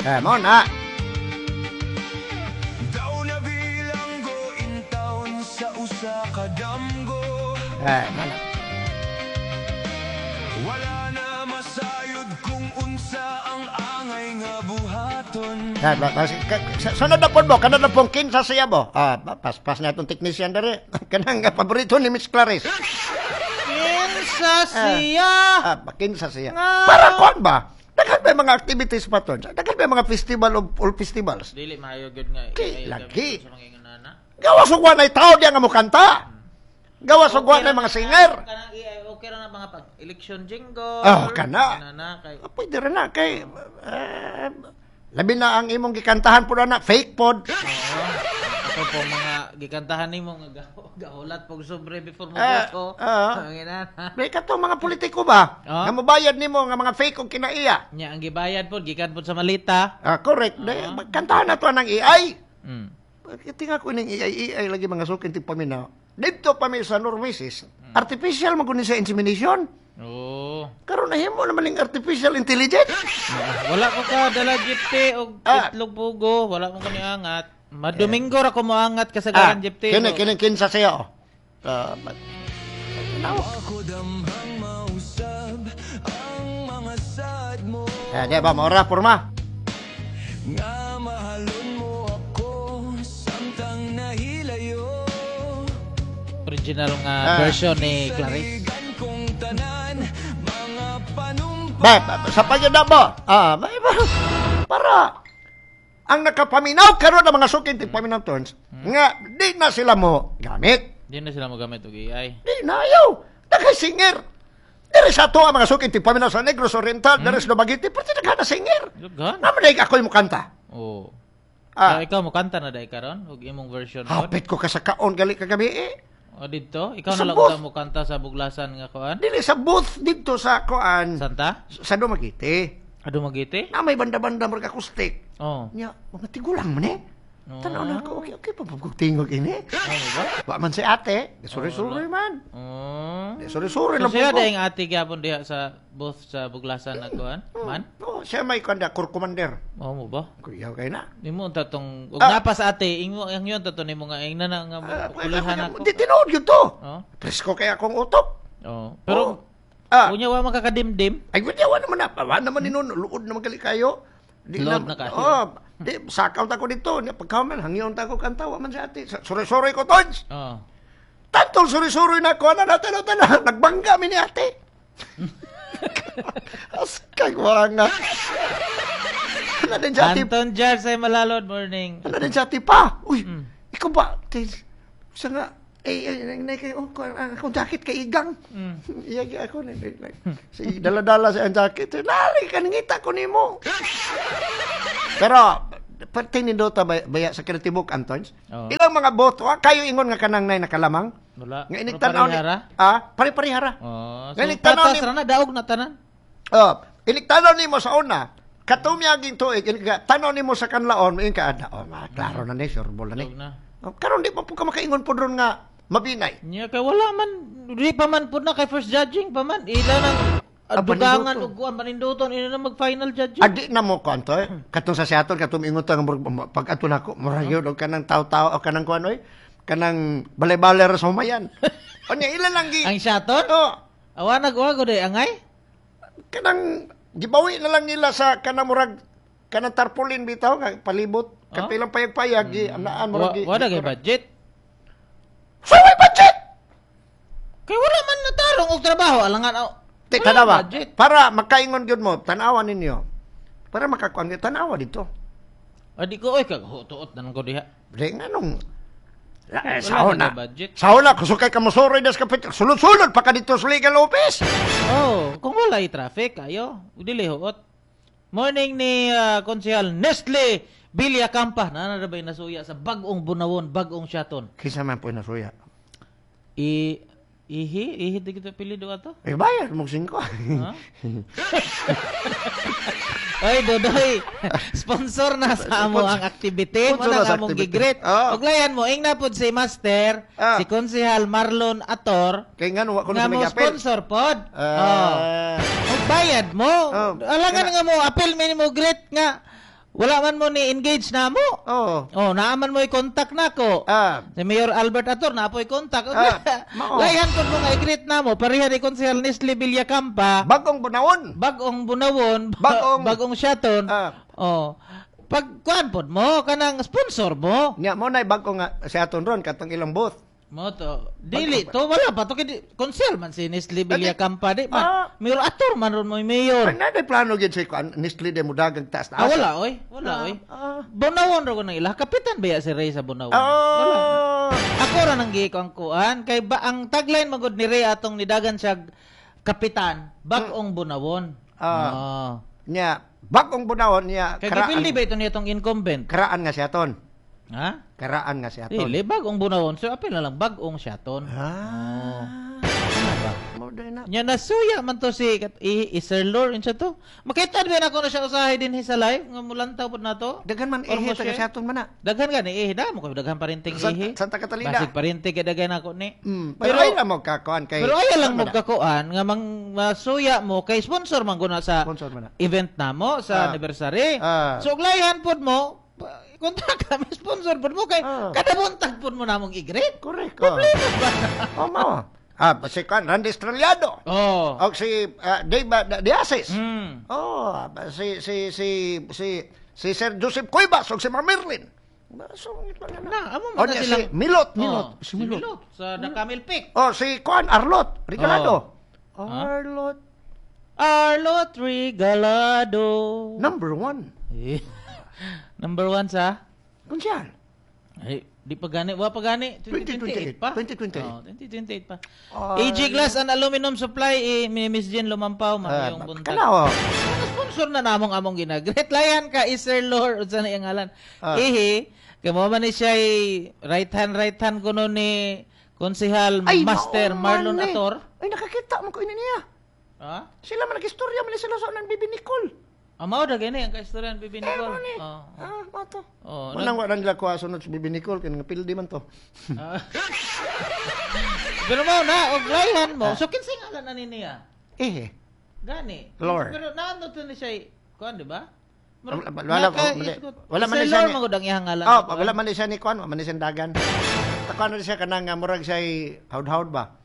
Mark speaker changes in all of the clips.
Speaker 1: Eh, mo na.
Speaker 2: Daw na bilanggo in town sa usa ka damgo.
Speaker 1: Eh, mo na.
Speaker 2: Wala na masayod kung unsa ang angay nga buhaton.
Speaker 1: Eh, sunod na po mo, kanang na pong kinsa siya mo. Ah, pas na itong technician dere. Kanang paborito ni Miss Clarice.
Speaker 3: Kinsa siya?
Speaker 1: Ah, kinsa siya.
Speaker 3: Nga.
Speaker 1: Para kuan ba? Daghan ba mga activities pa to? Daghan ba mga festival of all festivals?
Speaker 3: Dili maayo gyud nga.
Speaker 1: Di,
Speaker 3: AI
Speaker 1: lagi.
Speaker 3: gamit sa mga ingonana.
Speaker 1: Gawas og wa nay tao diya nga mokanta. Gawas og wa nay mga singer.
Speaker 3: Kanang AI okay ra na mga pag election jingle.
Speaker 1: Oh, kana.
Speaker 3: Kana kay
Speaker 1: Ah, pwede rin na kay labi na ang imong gikantahan po na fake pod.
Speaker 3: Oo. Ito po mga gikantahan nimo nga gahulat pog sobre before mo
Speaker 1: Ah,
Speaker 3: boto.
Speaker 1: ah.
Speaker 3: Ang inana.
Speaker 1: May katong mga politiko ba?
Speaker 3: Ah.
Speaker 1: Nga mobayad nimo nga mga fake og kinaiya.
Speaker 3: Nya ang gibayad pod gikan pod sa malita.
Speaker 1: Ah, correct. Kantahan na to ng AI. Tinga ko ning AI, AI lagi mga sukin ti paminaw. Dito pa mi sa Norwesis, artificial man kunin sa insemination.
Speaker 3: Oo.
Speaker 1: Karon nahimo naman ning artificial intelligence.
Speaker 3: Wala ko ka dala jipte og itlog pugo, wala mo kani angat. Madomingo ra ko moangat kasagaran jipte.
Speaker 1: Kini kini kinsa siya oh. Ah,
Speaker 2: Ako damhang mausab ang mga sad mo.
Speaker 1: Eh, di ba maura porma?
Speaker 2: Nga mahalon mo ako samtang nahilayo.
Speaker 3: Original nga version ni Clarice.
Speaker 2: Saligan kong tanan mga panumpa.
Speaker 1: Ba, ba, sa pagyada ba? Ah, ba, ba, para ang nakapaminaw karon ng mga sukin ti paminaw turns nga di na sila mo gamit.
Speaker 3: Di na sila mogamit og AI.
Speaker 1: Di na ayaw. Daghay singer. Diri sa ato ang mga sukin ti paminaw sa Negros Oriental, diri sa Dumaguete, pati daghan na singer.
Speaker 3: Daghan.
Speaker 1: Naman dahil ako'y mukanta.
Speaker 3: Oo.
Speaker 1: Ah.
Speaker 3: So, ikaw mo kanta na dai karon og imong version pod?
Speaker 1: Hapit ko ka sa kaon gali kagabi eh.
Speaker 3: O didto, ikaw
Speaker 1: Sa
Speaker 3: na lang
Speaker 1: booth.
Speaker 3: unta mo kanta sa buglasan nga kuan?
Speaker 1: Dili sa booth dito sa kuan.
Speaker 3: Santa?
Speaker 1: Sa Dumaguete.
Speaker 3: Ah, Dumaguete?
Speaker 1: Na may banda-banda mga acoustic.
Speaker 3: Oh.
Speaker 1: Nya, mga tigulang man eh.
Speaker 3: Oh.
Speaker 1: Tanaw na ako, okay, okay, papagtingog ini.
Speaker 3: Ano ba?
Speaker 1: Wa man si ate, suri-suri man.
Speaker 3: Oh.
Speaker 1: Suri-suri
Speaker 3: So
Speaker 1: lang
Speaker 3: siya
Speaker 1: po ko.
Speaker 3: daing ate gyapon diha sa booth sa buglasan nga kuan? Man?
Speaker 1: Oh, siya may kanda, corps commander.
Speaker 3: Oh mo ba?
Speaker 1: Kuyaw kayo na.
Speaker 3: Nimo unta tong og
Speaker 1: Ah.
Speaker 3: napa sa ate ingo ang yun to nimo nga ingna na nga kulihan ako.
Speaker 1: Di tinuod yun to.
Speaker 3: Oh.
Speaker 1: Presko kaya akong utok.
Speaker 3: Oh. Pero
Speaker 1: Ah.
Speaker 3: unya wa makakadimdim.
Speaker 1: Ay, wala wa naman na. Wa naman ni nun. Luod naman gali kayo. Di
Speaker 3: Luod na kayo.
Speaker 1: Oh, di, sakaw ta ko dito. Nya, pagkaman, hangyon ta ko kanta. Wa man si ate. Suri-suri ko, tons.
Speaker 3: Oh.
Speaker 1: Tantong suri-suri na ko. Ano natin, natin. Nagbangga mi ni ate. Askay, wala nga. Ano din si ate?
Speaker 3: Anton Jar sa Malalod morning.
Speaker 1: Ano din si ate pa? Uy, ikaw ba? Sa nga, eh, eh, eh, kay, oh, akong jacket kay Igang. Iya, iya, ako. Na, na, na. Si dala-dala sa ang jacket. Lali, kaningita ko nimo. Pero, pati nindota baya sa Kinatibuk, Antons?
Speaker 3: Oo.
Speaker 1: Ilang mga boto, kayo ingon nga kanang nay nakalamang?
Speaker 3: Wala.
Speaker 1: Nga
Speaker 3: Pero
Speaker 1: inig-tanaw ni
Speaker 3: parehara?
Speaker 1: Ah, pare-parehara.
Speaker 3: Oh, so
Speaker 1: Nga inig-tanaw
Speaker 3: patas
Speaker 1: ni
Speaker 3: ra na daog na tanan.
Speaker 1: Oh, inig-tanaw nimo sa una, katumyaging tuig, tanaw nimo sa kanlaon, moingon ka, ah, oh, ma, klaro na ni, sure ball na ni.
Speaker 3: Daog na.
Speaker 1: Oh, karon di pa po ka makaingon po ron nga mabinay.
Speaker 3: Nya kay wala man di pa man pud na kay first judging pa man ila nang
Speaker 1: Ah,
Speaker 3: dugangan
Speaker 1: paninduton.
Speaker 3: og kuan paninduton ila na mag final judging.
Speaker 1: Adi na mo kuan to eh. Katong sa Seattle katong ingon ta nga pag ato nako murag yun og kanang taw-taw o kanang kuan oy kanang balay-balay ra sa humayan. Unya ila lang gi
Speaker 3: Ang shaton?
Speaker 1: Oh,
Speaker 3: Awa nag-uwa ko di angay?
Speaker 1: kanang gibawi na lang nila sa kanang murag kanang tarpaulin bitaw nga palibot
Speaker 3: Oh?
Speaker 1: kapilang payag-payag gi anaan
Speaker 3: Wa
Speaker 1: murag gi.
Speaker 3: wa na kay budget.
Speaker 1: Sa way budget.
Speaker 3: Kay wala man natarong og trabaho alangan aw.
Speaker 1: Te
Speaker 3: Wala
Speaker 1: tanawa.
Speaker 3: budget.
Speaker 1: Para makaingon gyud mo tan-awa ninyo. Para makakuan gyud tan-awa dito.
Speaker 3: Adi ko oy kag tuot na ko diha.
Speaker 1: Di nga nung
Speaker 3: Wala
Speaker 1: sao
Speaker 3: na
Speaker 1: na.
Speaker 3: kay budget.
Speaker 1: Sao na, kusukay ka mosoroy das kapit. Sulod-sulod pa ka dito sa legal office.
Speaker 3: Oh, kung wala traffic ayo, dili huot. Morning ni Konsehal Nestle Bilya Kampa. Nana na ba'y nasuya sa bag-ong Bunawon, bag-ong Siaton?
Speaker 1: Kinsa man po nasuya?
Speaker 3: I ihi ihi di kita pili do ato.
Speaker 1: Eh, bayad mo singko.
Speaker 3: Ha? Oy, Dodoy, sponsor na sa amo ang activity. Mo
Speaker 1: Sponsor
Speaker 3: na
Speaker 1: na sa
Speaker 3: among
Speaker 1: activity.
Speaker 3: gigreet.
Speaker 1: Ah.
Speaker 3: Uglayan mo, ingna pod si Master, si Konsehal Marlon Ator,
Speaker 1: Kay nga wa ko
Speaker 3: nga
Speaker 1: na
Speaker 3: mo
Speaker 1: sa apel.
Speaker 3: sponsor pod.
Speaker 1: Ah.
Speaker 3: Oh. Og bayad mo.
Speaker 1: Oh.
Speaker 3: Alangan nga mo, apel mi mo greet nga. Wala man mo ni engage na mo.
Speaker 1: Oh.
Speaker 3: Oh, naaman mo i-contact nako.
Speaker 1: Ah.
Speaker 3: Si Mayor Albert Ator na po i-contact.
Speaker 1: Ah, mao.
Speaker 3: Layhan pud mo nga i-greet namo pareha ni Konsehal Nestle Villacampa.
Speaker 1: Bagong Bunawon.
Speaker 3: Bagong Bunawon,
Speaker 1: Bagong
Speaker 3: bagong Siaton.
Speaker 1: Ah.
Speaker 3: Oh. Pag kuan pod mo kanang sponsor mo.
Speaker 1: Nya mo nay bagong nga si aton ron katong ilang booth.
Speaker 3: Mo to. Dili to wala pa to kay konsehal man si Nestle Villacampa di man.
Speaker 1: Ah.
Speaker 3: Mayor Ator man ron mo mayor.
Speaker 1: Ay na plano gyud si kuan Nestle de mudagang taas
Speaker 3: Ah, wala oy, wala oy.
Speaker 1: Ah.
Speaker 3: Bunawon ra ko nang ila. Kapitan ba ya si Ray sa Bunawon? Wala.
Speaker 1: Oh.
Speaker 3: Ako ra nang giiko ang kuan kay ba ang tagline magud ni Ray atong nidagan siya kapitan bag-ong Bunawon.
Speaker 1: Ah.
Speaker 3: Oh.
Speaker 1: Nya bagong Bunawon nya
Speaker 3: Kay gipildi ba ito niya itong incumbent?
Speaker 1: Karaan nga si aton.
Speaker 3: Ha?
Speaker 1: Karaan nga si aton.
Speaker 3: Dili bag-ong Bunawon. So apil na lang bag-ong siyaton.
Speaker 1: Ah. Mo day na.
Speaker 3: Nya nasuya man to si kat, i, i Sir Lord unsa to? Makita ba na ko na siya usahay dinhi sa live nga mulantaw pud nato?
Speaker 1: Daghan man
Speaker 3: Or
Speaker 1: ihi
Speaker 3: mo
Speaker 1: taga
Speaker 3: share?
Speaker 1: si aton man na.
Speaker 3: Daghan gani ihi na mo kay daghan parinting ihi.
Speaker 1: Santa Catalina.
Speaker 3: Basig parinti kay daghan ako ni.
Speaker 1: Pero, ay lang mo kakuan kay
Speaker 3: Pero ayaw lang
Speaker 1: man
Speaker 3: mo
Speaker 1: na.
Speaker 3: kakuan nga mang masuya mo kay sponsor man guna sa
Speaker 1: Sponsor man na.
Speaker 3: event namo sa
Speaker 1: Ah.
Speaker 3: anniversary.
Speaker 1: Ah.
Speaker 3: So uglayan pod mo kontak kami sponsor pod mo kay kada buntag pod mo namong i-greet.
Speaker 1: Correct. Oh.
Speaker 3: Problema ba?
Speaker 1: Oh, mao. Ah, si kuan Randy Estrellado.
Speaker 3: Oh.
Speaker 1: O si Dave Diasis. Oh, si si si si si Sir Joseph Cuevas o si Ma'am Merlin. So,
Speaker 3: Na, amo
Speaker 1: O,
Speaker 3: man na
Speaker 1: niya,
Speaker 3: silang
Speaker 1: si Milot, Milot.
Speaker 3: Oh,
Speaker 1: Si
Speaker 3: si
Speaker 1: Milot.
Speaker 3: Milot sa The Camel Peak.
Speaker 1: Oh, si Kuan Arlot Regalado.
Speaker 3: Oh.
Speaker 1: Arlot
Speaker 3: Arlot Regalado.
Speaker 1: number 1.
Speaker 3: Eh, Number 1 sa
Speaker 1: Kunsyal.
Speaker 3: Ay, di pa gani, wa pa gani. 2028 pa.
Speaker 1: 2028.
Speaker 3: Oh, 2028 pa.
Speaker 1: Ay.
Speaker 3: AG Glass and Aluminum Supply, eh, ni Miss Jean Lumampaw, maayong buntag.
Speaker 1: Kana oh.
Speaker 3: Mga sponsor na namong among ginagret. Layan ka, eh, Sir Lord, unsa na iyang ngalan.
Speaker 1: Ah.
Speaker 3: Ihi, kay mo man ni siya right hand kuno ni Konsehal
Speaker 1: Ay,
Speaker 3: Master
Speaker 1: mao man
Speaker 3: Marlon
Speaker 1: eh.
Speaker 3: Ator.
Speaker 1: Ay, nakakita mo ko ini niya.
Speaker 3: Ha?
Speaker 1: Sila man nag-istorya man ni sila sa nang Bibi Nicole.
Speaker 3: Amaw da gani ang kaistorya ni Bibi
Speaker 1: Eh,
Speaker 3: Nicole.
Speaker 1: mo ni.
Speaker 3: Oh.
Speaker 1: Ah, mao to.
Speaker 3: Oh,
Speaker 1: Unang wala nila kuha sunod si Bibi Nicole kay nga pildi man to.
Speaker 3: Ah. Pero mo na, og layan mo. So kinsay ngalan na ni niya?
Speaker 1: Eh.
Speaker 3: Gani.
Speaker 1: Lord.
Speaker 3: Pero naano to ni siya, kuan di ba?
Speaker 1: Wala wala wala man
Speaker 3: ni
Speaker 1: ni siya.
Speaker 3: Lord magud ang iyang ngalan.
Speaker 1: Oh, wala man ni siya ni kuan, wala man ni siya dagan. Takuan na siya kanang nga murag siya hawd-hawd ba.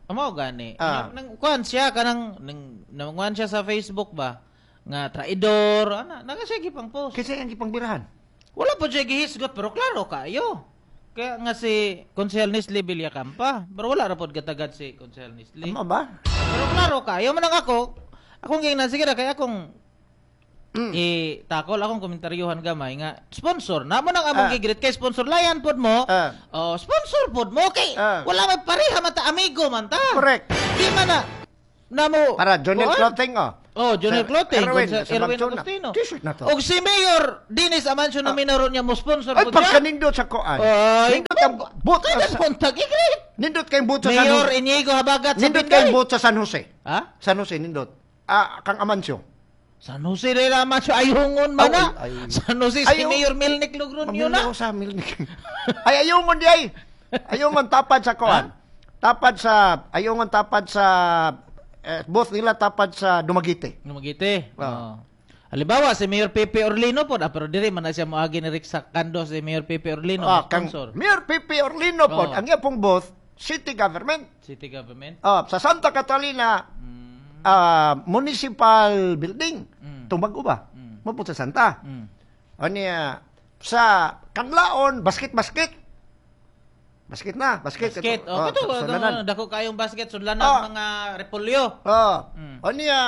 Speaker 3: Amo gani.
Speaker 1: Ah.
Speaker 3: Nang kuan siya kanang nang nanguan siya sa Facebook ba nga traidor ana naga siya gipang post.
Speaker 1: Kasi ang gipangbirahan.
Speaker 3: Wala po siya gihisgot pero klaro kayo. Kaya nga si Konsehal Nestle Villacampa, pero wala ra pod gatagad si Konsehal Nestle.
Speaker 1: Amo ba?
Speaker 3: Pero klaro kayo man ang ako, akong gingnan sige ra kay akong i-takol akong komentaryuhan gamay nga sponsor na mo nang among gigreet kay sponsor layan pod mo. Oh, sponsor pod mo kay wala may pareha man ta amigo man ta.
Speaker 1: Correct.
Speaker 3: Di man na namo
Speaker 1: Para Jonel
Speaker 3: kuan?
Speaker 1: Clothing oh.
Speaker 3: Oh, Jonel
Speaker 1: Sir
Speaker 3: Clothing,
Speaker 1: Erwin,
Speaker 3: kung sa
Speaker 1: sa
Speaker 3: Erwin
Speaker 1: Bagtuna.
Speaker 3: Agustino.
Speaker 1: T-shirt na to.
Speaker 3: Og si Mayor Dennis Amancio na minaro niya mo sponsor
Speaker 1: Ay
Speaker 3: pod siya.
Speaker 1: pagkanindot sa kuan.
Speaker 3: Ay,
Speaker 1: Nindot ang boot
Speaker 3: Kaya
Speaker 1: sa,
Speaker 3: buntag i-greet.
Speaker 1: nindot kay boot sa San
Speaker 3: Mayor
Speaker 1: Jose.
Speaker 3: Inigo Habagat sa
Speaker 1: Nindot kay
Speaker 3: Pinday.
Speaker 1: boot sa San Jose.
Speaker 3: Ha?
Speaker 1: San Jose nindot. Ah, kang Amancio.
Speaker 3: San Jose de la Macho ayungon man na.
Speaker 1: Ay, ay.
Speaker 3: San Jose si
Speaker 1: Ayaw.
Speaker 3: Mayor Milnik Logronyo na.
Speaker 1: Mamili sa Milnik. Ay ayungon di ay. Ayungon tapad sa kuan. Tapad sa ayungon tapad sa both nila tapad sa Dumaguete.
Speaker 3: Lumagite.
Speaker 1: Ah.
Speaker 3: Oo. Halimbawa, si Mayor Pepe Orlino po, pero diri man na siya moagi ni Rick Sacando si Mayor Pepe Orlino,
Speaker 1: Ah, kang
Speaker 3: sponsor.
Speaker 1: Mayor Pepe Orlino po,
Speaker 3: Oo.
Speaker 1: ang iya pong both city government.
Speaker 3: City government.
Speaker 1: Ah, sa Santa Catalina municipal building. Tumbago ba? Mo po sa Santa. O niya sa Kanlaon basket basket. Basket na, basket.
Speaker 3: Basket.
Speaker 1: Ito,
Speaker 3: Oh, ito,
Speaker 1: sulanan.
Speaker 3: dako kayong basket sudlanan mga repolyo.
Speaker 1: Oh. O niya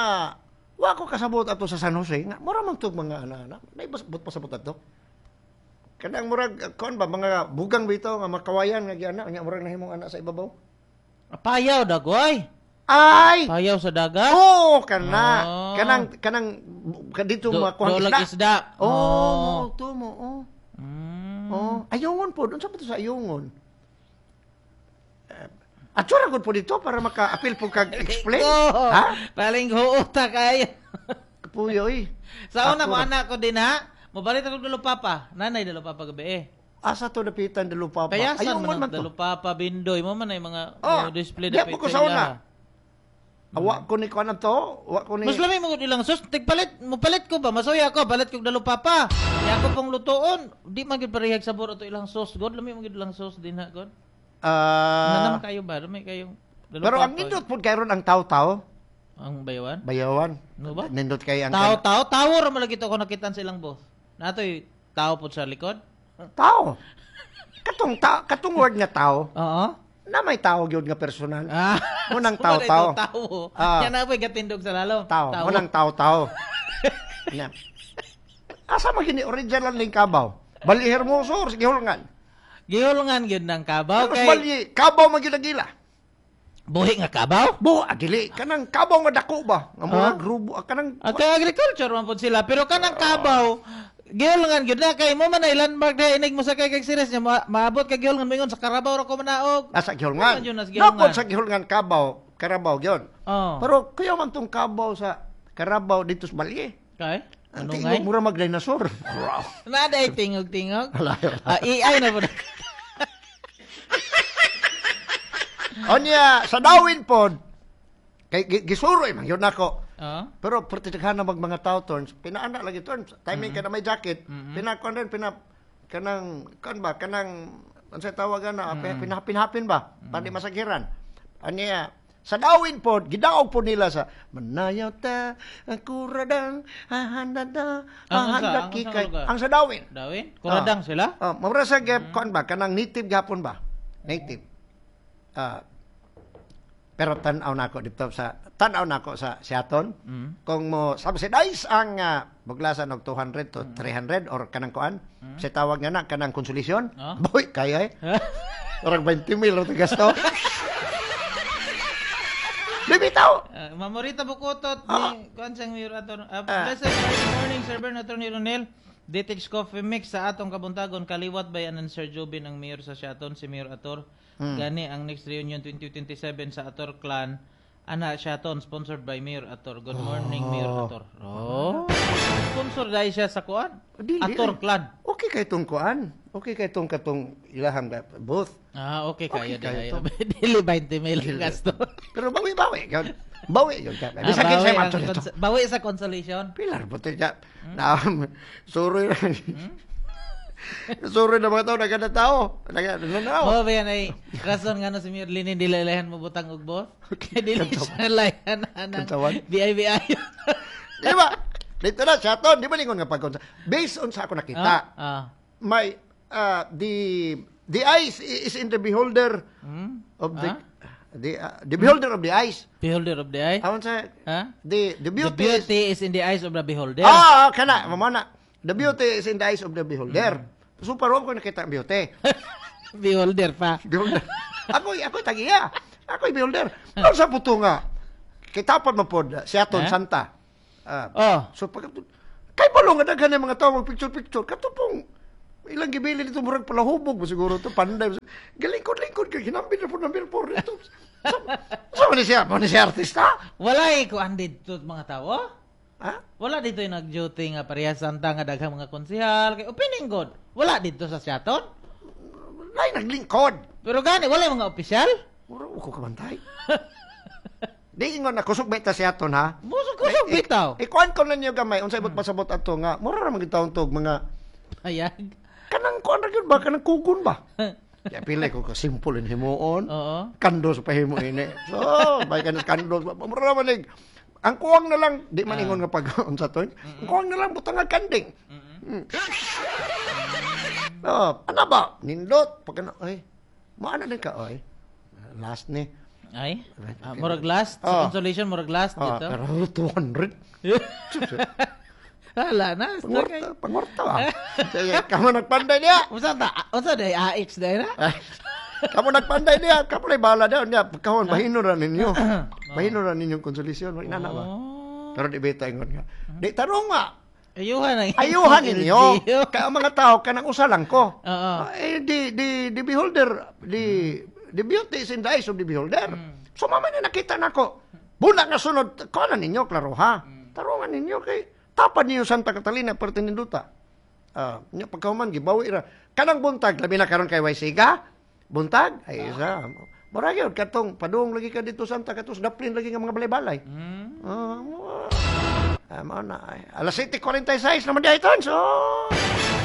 Speaker 1: wa ko kasabot ato sa San Jose nga mura man tug mga ana-ana. May basbot pasabot ato. Kanang murag kon ba mga bugang bitaw nga makawayan nga giana nya murag nahimong ana sa ibabaw.
Speaker 3: Payaw dagoy.
Speaker 1: Ay!
Speaker 3: Payaw sa dagat.
Speaker 1: Oh, kana.
Speaker 3: Oh.
Speaker 1: Kanang kanang dito makuha
Speaker 3: Dolag isda.
Speaker 1: Oh,
Speaker 3: Oh.
Speaker 1: mo to mo. Oh. Oh, ayungon po. Unsa pa to sa ayungon? Atsura gud po dito para maka-appeal po kag explain.
Speaker 3: Oh,
Speaker 1: Ha?
Speaker 3: Paling huuta kayo.
Speaker 1: Kapuyo eh.
Speaker 3: Sa una
Speaker 1: Ako
Speaker 3: mo
Speaker 1: ra.
Speaker 3: anak ko din ha. Mobalit ako dulo papa. Nanay dulo papa gabi eh.
Speaker 1: Asa to dapitan dulo papa?
Speaker 3: Kaya saan
Speaker 1: Ayungon
Speaker 3: man
Speaker 1: man
Speaker 3: ang
Speaker 1: to.
Speaker 3: dulo papa bindoy mo man ay mga
Speaker 1: Oh,
Speaker 3: display
Speaker 1: diya
Speaker 3: dapit
Speaker 1: po ko
Speaker 3: sa
Speaker 1: sa una.
Speaker 3: ilaha.
Speaker 1: Awa ko ni kuan to, wa ko ni.
Speaker 3: Mas lami mo ilang sauce, tigpalit, mo palit ko ba? Masuya ko, palit kog dalo papa. Ya ako pong lutoon, di man gyud parehag sabor ato ilang sauce god, lami man gyud ilang sauce din ha god. Naman kayo ba? Lami kayo.
Speaker 1: Pero ang nindot pud kayron ang taw-taw.
Speaker 3: Ang bayawan?
Speaker 1: Bayawan.
Speaker 3: No ba?
Speaker 1: Nindot kay ang
Speaker 3: taw-taw, tawo ra man lagi to ako nakitan sa ilang boss. Natoy tao pud sa likod.
Speaker 1: Tao. Katong katong word nga tao.
Speaker 3: Oo.
Speaker 1: Na may tao gyud nga personal.
Speaker 3: Ah.
Speaker 1: Munang tao-tao.
Speaker 3: Tao. Yan na po'y gatindog sa lalom.
Speaker 1: Tao. Munang tao-tao. Na. Asa man gini original ning kabaw? Bali Hermoso or gihulngan?
Speaker 3: Gihulngan gyud ng kabaw
Speaker 1: kay bali kabaw man gyud agila.
Speaker 3: Buhi nga kabaw?
Speaker 1: Bo, adili kanang kabaw nga dako ba? Nga murag rubo kanang
Speaker 3: okay, agriculture man pud sila pero kanang kabaw gihulngan gyud na kay mo man ay landmark dai inig mo sakay kag series nya maabot ka gihulngan moingon sa Carabao ra ko manaog.
Speaker 1: Asa gihulngan? Napod sa gihulngan kabaw, Carabao gyud.
Speaker 3: Oh.
Speaker 1: Pero kuya man tong kabaw sa Carabao dito sa Balye.
Speaker 3: Kay?
Speaker 1: Ano ngay? Mura mag dinosaur.
Speaker 3: Na day tingog-tingog. AI na pud.
Speaker 1: Onya sa Dawin pod kay gisuroy man gyud nako. Pero pertidaghan na mag mga tao turns, pinaana lagi turns, timing ka na may jacket, pinakuan rin pina kanang kan ba kanang unsay tawagan na pinahapin-hapin ba, pandi masagiran. Anya sa Dawin pod gidaog pod nila sa manayaw ta kuradang hahandada hahanda kikay. Ang sa Dawin.
Speaker 3: Dawin? Kuradang sila?
Speaker 1: Oh, mura sa kuan ba kanang native gapon ba? Native. Pero tan-aw nako dito sa tan-aw nako sa Siaton. Kung mo subsidize ang buglasan og 200 to 300 or kanang kuan, sa tawag nga na kanang konsolasyon. Boy, kaya eh. Orang 20 mil ra gasto. Bibitaw.
Speaker 3: Mamorita Bukotot ni kuan sang mayor aton. Blessed morning Sir Bern, Attorney Ronel. Ditex Coffee Mix sa atong kabuntagon kaliwat bayanan Sir Jobin ang mayor sa Siaton si Mayor Ator. Gani ang next reunion 2027 sa Ator Clan ana Siaton sponsored by Mayor Ator. Good morning Mayor Ator. Oh. Sponsor dai siya sa kuan. Ator Clan.
Speaker 1: Okay kay tong kuan. Okay kay tong katong ilahang both.
Speaker 3: Ah, okay kayo dai. Dili 20 mil gasto.
Speaker 1: Pero bawi-bawi. Bawi yun ka. Bisag kinsa man to.
Speaker 3: Bawi sa consolation.
Speaker 1: Pilar po siya. Na suroy na. Suroy na mga tao, naganda tao. Naganda.
Speaker 3: Oh, ba yan ay rason nga no si Mayor Linin dili layan mo butang og boss. Kay dili siya layan anang BIBI.
Speaker 1: Di ba? Dito na siya to, di ba lingon nga pagkonsa. Based on sa ako nakita. May the eyes is in the beholder of the the beholder of the eyes.
Speaker 3: Beholder of the eye?
Speaker 1: Awan sa the beauty,
Speaker 3: the beauty is in the eyes of the beholder.
Speaker 1: Ah, kana mamana. The beauty is in the eyes of the beholder. So parang ko nakita ang beauty.
Speaker 3: Beholder pa.
Speaker 1: Beholder. Ako tagiya. Ako beholder. Pero sa puto nga. Kitapon mo pod Siaton Santa. So pag kay balong nga daghan mga tao mag picture-picture katupong ilang gibili dito murag palahubog mo siguro to panday. Galingkod-lingkod kay hinambin na po ng bilpor dito. So man siya, man siya artista.
Speaker 3: Wala eh kuan dito mga tao.
Speaker 1: Ha?
Speaker 3: Wala dito yung nag-duty nga parehas Santa nga daghang mga konsehal kay opening god. Wala dito sa Siaton.
Speaker 1: Nay naglingkod.
Speaker 3: Pero gani wala mga opisyal.
Speaker 1: Mura ko kabantay. Di ingon na kusog bita Siaton ha.
Speaker 3: Busog-kusog bitaw.
Speaker 1: Ikuan ko na niyo gamay unsay ibot pasabot ato nga mura ra man gid taon tog mga
Speaker 3: ayag.
Speaker 1: Kanang kuan ra gyud ba kanang kugon ba? Ya pili ko ka simple in himuon.
Speaker 3: Oo.
Speaker 1: Kandos pa himo ini. So, bay kanos kandos mura man nig. Ang kuwang na lang di man ingon nga pag unsa to. Ang kuwang na lang butang kanding. Oh, ana ba? Nindot pag ay. Maana din ka oy. Last ni.
Speaker 3: Ay. Murag last sa consolation murag last dito.
Speaker 1: Pero 200.
Speaker 3: Hala na.
Speaker 1: Pangorta ba? Sige, kamo nagpanday niya.
Speaker 3: Unsa ta? Unsa day AX day na?
Speaker 1: Kamo nagpanday niya, kamo lay bahala daw niya. Pagkahon bahino ra ninyo. Bahino ra ninyong konsolasyon, wala na ba. Pero di beta ingon nga. Di tarong nga.
Speaker 3: Ayuhan ang
Speaker 1: ayuhan ninyo. Kaya ang mga tao kanang usa lang ko. Eh the beholder, the beauty is in the eyes of the beholder. So mama na nakita nako. Buna nga sunod kuan ninyo klaro ha. Tarungan ninyo kay tapad niyo Santa Catalina pertininduta. Nya pagkahuman gibawi ra. Kanang buntag labi na karon kay Waisiga. Buntag ay isa. Mura gyud katong padung lagi ka dito Santa katos daplin lagi nga mga balay-balay. Mao na. Alas 7:46 naman diay ton. So,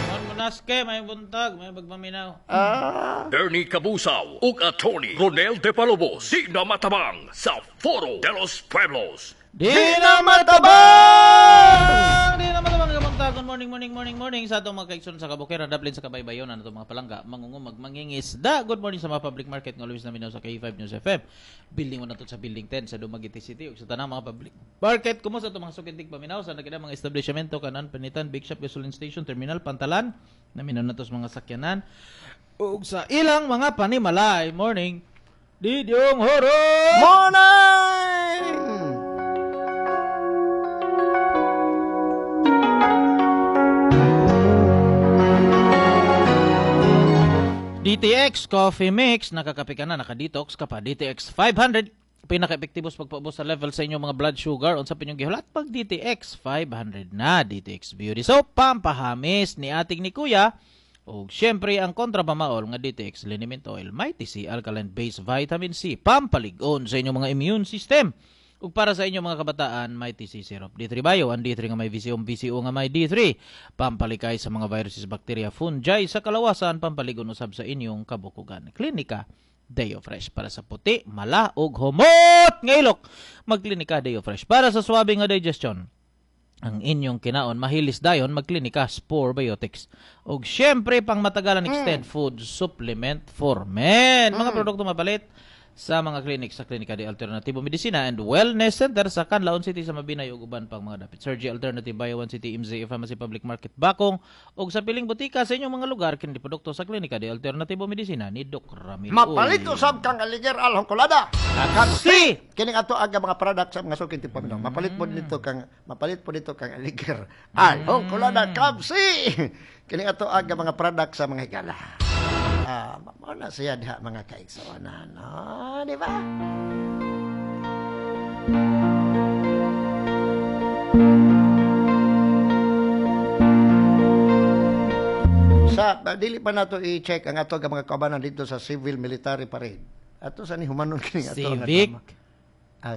Speaker 3: Mon Monaske, may buntag, may bagmaminaw.
Speaker 4: Bernie Cabusaw ug Attorney Ronel De Palobos, di na matabang sa Foro de los Pueblos.
Speaker 3: Di na matabang! Di na matabang kamuntag. Good morning, morning, morning, morning sa atong mga kaigsoon sa Kabukiran, Daplin sa Kabaybayon, ano itong mga palangga, mangungumag, mangingisda. Good morning sa mga public market nga always naminaw sa K5 News FM. Building 1 na to sa Building 10 sa Dumaguete City ug sa tanang mga public market. Kumusta itong mga sukintig paminaw sa nagkita mga establishmento, kanan, panitan, big shop, gasoline station, terminal, pantalan. Naminaw na to sa mga sakyanan ug sa ilang mga panimalay. Morning. Didyong Horo!
Speaker 1: Morning!
Speaker 3: DTX Coffee Mix, nakakape ka na, naka-detox ka pa. DTX 500, pinaka-epektibo sa pagpaubos sa level sa inyong mga blood sugar. Unsa pa inyong gihulat pag DTX 500 na. DTX Beauty Soap, pampahamis ni ating ni Kuya. Og syempre ang kontrapamaol nga DTX Liniment Oil, Mighty C Alkaline Base Vitamin C, pampalig-on sa inyong mga immune system. Ug para sa inyong mga kabataan, Mighty C Syrup. D3 Bio, ang D3 nga may VCO, VCO nga may D3. Pampalikay sa mga viruses, bacteria, fungi sa kalawasan, pampaligon usab sa inyong kabukugan. Klinika Deo Fresh para sa puti, mala ug humot nga ilok. Magklinika Deo Fresh para sa swabe nga digestion. Ang inyong kinaon mahilis dayon, magklinika Spore Biotics. Ug syempre pang matagalan extend food supplement for men. Mga produkto mapalit sa mga klinik sa Klinika de Alternativo Medicina and Wellness Center sa Canlaon City sa Mabinay ug uban pang mga dapit. Surgery Alternative Bio 1 City, MZ Pharmacy Public Market Bakong ug sa piling butika sa inyong mga lugar kini produkto sa Klinika de Alternativo Medicina ni Doc Ramil.
Speaker 1: Mapalit usab kang Aliger Alhongkolada.
Speaker 3: Kapsi!
Speaker 1: Kining ato aga mga product sa mga sukin paminaw. Mapalit po dito kang mapalit po dito kang Aliger Alhongkolada Kapsi. Kining ato aga mga product sa mga higala. Mao na siya diha mga kaigsuonan, no? Di ba? Sa dili pa nato i-check ang ato mga kaubanan dito sa civil military parade. Ato sa ni humanon kini ato nga
Speaker 3: Civic.
Speaker 1: drama.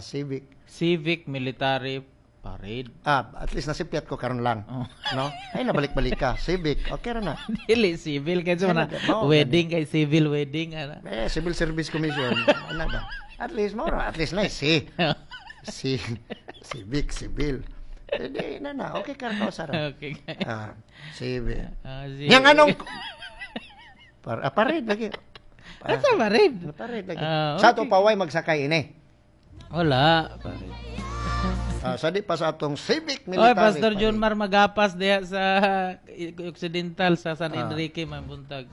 Speaker 1: Civic.
Speaker 3: Civic military parade.
Speaker 1: At least nasipyat ko karon lang.
Speaker 3: Oh.
Speaker 1: No? Ay nabalik-balik ka. Civic. Okay ra na.
Speaker 3: Dili civil kay sa mga wedding kay civil wedding ana.
Speaker 1: Eh, Civil Service Commission. Ano ba? At least mo, at least nice. Si. Si civic, civil. Eh, di na na. Okay ka ra sara.
Speaker 3: Okay.
Speaker 1: Civil.
Speaker 3: Si-
Speaker 1: Yang anong parade lagi.
Speaker 3: Asa parade?
Speaker 1: Parade lagi.
Speaker 3: Okay.
Speaker 1: Sa ato paway magsakay ini.
Speaker 3: Wala. Parade.
Speaker 1: Sa di pa sa atong civic military.
Speaker 3: Oy, Pastor John Mar Magapas diha sa Occidental sa San Enrique may buntag.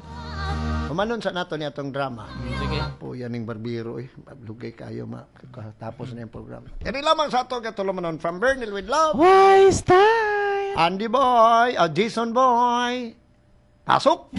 Speaker 1: Humanon sa nato ni atong drama.
Speaker 3: Sige.
Speaker 1: Po yan ning barbero eh. Lugay kayo ma tapos na yung programa. Kani lamang sa ato katulumanon from Bernil with love.
Speaker 3: Wise time.
Speaker 1: Andy Boy, Jason Boy. Pasok.